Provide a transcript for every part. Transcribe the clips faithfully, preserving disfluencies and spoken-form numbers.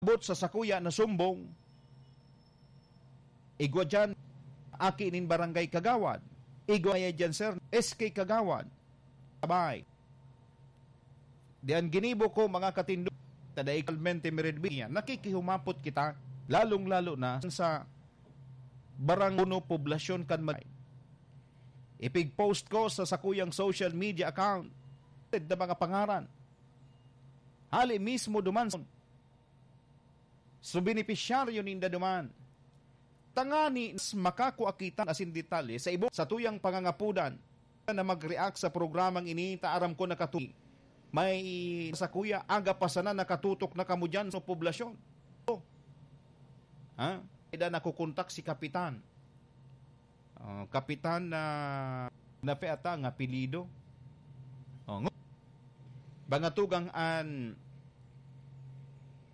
Abot sa sakuya na sumbong, igwa diyan, aki nin barangay kagawad. Igwa kaya diyan, sir, S K kagawad. Sabay. Di an ginibo ko, mga katindo, ta dai kalmente meredbiya, nakikihumapot kita, lalong-lalo na sa barang uno poblasyon kan Mag-, ipig-post ko sa sakuyang social media account na mga pangaran. Hali mismo duman sa So, benepisyaryo ninda duman. Tangani mas makakua kita asin detalye sa ibo sa tuyang pangangapudan na mag-react sa programang ini, ta aram ko nakatu-, may sa kuya, aga pa sana nakatutok na kamo diyan sa poblasyon. Oh. Ha? Ida nakukontak si Kapitan. Oh, Kapitan na, na pe ata ang apelyido. Oh, ngo-, mga tugang an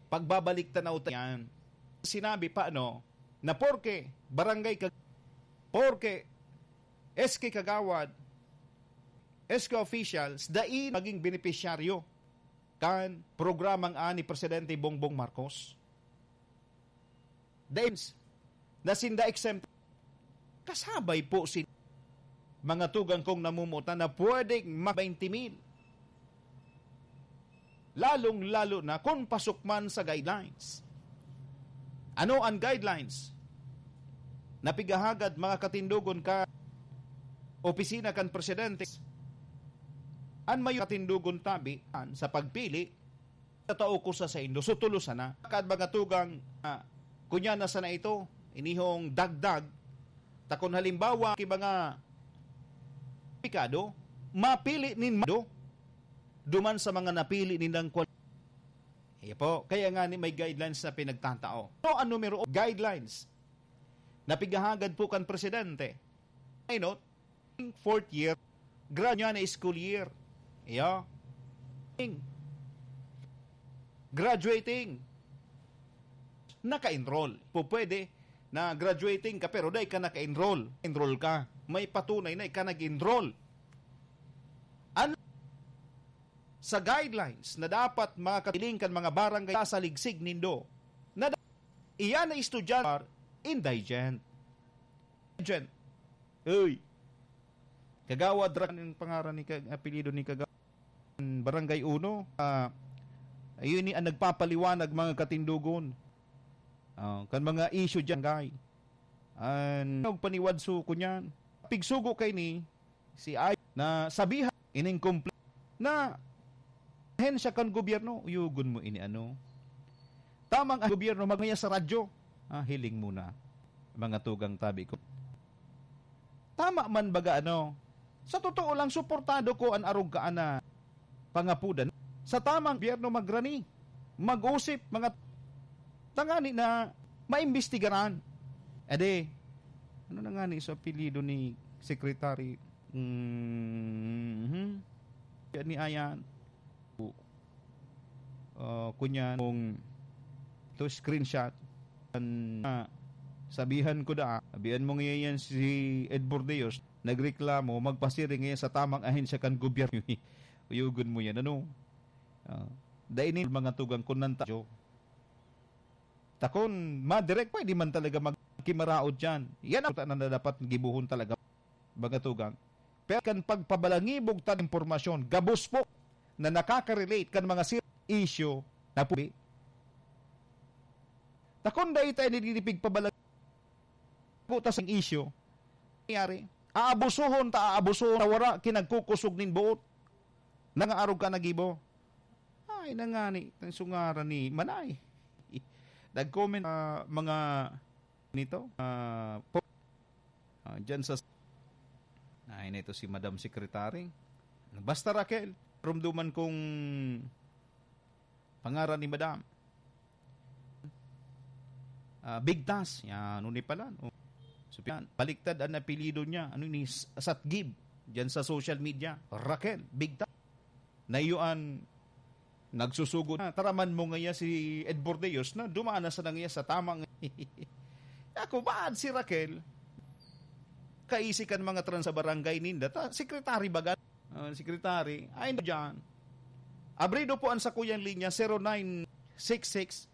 pagbabalik tanaw ta yan. Sinabi pa, ano, na porke barangay ka, porke S K kagawad, S K officials, dai maging benepisyaryo kan programang ani Presidente Bongbong Marcos. Dahil na sinda exempt, kasabay po si mga tugang kong namumutan na pwedeng mag twenty mil. Lalong-lalo na kung pasok man sa guidelines. Ano ang guidelines? Napigahagad mga katindogon ka opisina kan presidente. An mayo katindogon tabi an sa pagpili, tatao ko sa saindo. So, tulo sana. Kad mga tugang, ah, kunya na sana ito, inihong dagdag, ta kun halimbawa, ki mga pikado, mapili nin mado, duman sa mga napili nilang kwal-, Iya po, kaya nga ni may guidelines na pinagtatao. So, ang numero, guidelines, napigahagad po kan presidente. Ay, no? Fourth year, grad niya na school year. Iyo. Graduating. Naka-enroll. Po pwede na graduating ka pero dai ka naka-enroll. Enroll ka. May patunay na ika nag-enroll. Ano sa guidelines na dapat makakatiling kan mga barangay sa saligsig nindo? Na da-, iyan na estudyante indigent. Indigent. Uy. Kagawad ra ang pangaran ni Kag-, apelyido ni Kagawad. Barangay Uno. Ah, ayun ni ang nagpapaliwanag, mga katindogon. Ah, kan mga issue diyan, guy. An nagpaniwad suko niyan. Pigsugo kay ni si Ay na sabihan ining kompl-, na ahensya kan gobyerno, uyugon mo ini ano. Tamang ang gobyerno magmaya sa radyo. Ah, hiling muna. Mga tugang tabi ko. Tama man baga ano? Sa totoo lang, suportado ko an arog ka na pangapudan. Sa tamang gobyerno magrani, mag-usip, mga tangani na maimbestigaran. Ade, ano na nga ni sa apelyido ni Secretary? Mhm. Yan ni Ayan. Ah, kunyan mong ito screenshot. An-, ah, sabihan ko da, sabihan mo ngayon yan si Ed Bordeos, nagreklamo, magpasiring ngayon sa tamang ahensya kan gobyerno. Uyugon mo yan, ano? Ah, dai ni mga tugang kun nanta-, takon, madirek, pwede man talaga magkimaraot dyan. Yan ang na dapat gibuhon talaga, mga tugang. Pero kan pagpabalangibog tan impormasyon, gabos po na nakaka-relate kan mga ser-, issue na pubi. Takon dai tayo nililipig pabalang-, po ta sang issue. Nangyari, aabusuhon ta, aabusuhon ta, wara kinagkukusog nin buot. Nangaarog ka nagibo. Ay, nangani, tang sungaran ni Manay. Nag-comment, ah, mga nito, ah, po, ah, dyan sa, ay, na ito si Madam Secretary. Basta, Raquel, rumduman kong pangaran ni Madam. Ah, Bigtas, yan, ano ni pala, no? So, yan, baliktad ang apelyido niya. Ano ni S-, Satgib, dyan sa social media. Raquel Bigtas. Na iyo an nagsusugo na. Taraman mo ngaya si Ed Bordeos na dumaan na sana ngaya sa tamang ako, baad si Raquel? Kaisi kan mga trans sa barangay ninda. Ta, secretary baga? Ah, secretary. Ay, diyan. Abrido po ang sakuyang linya, zero nine six six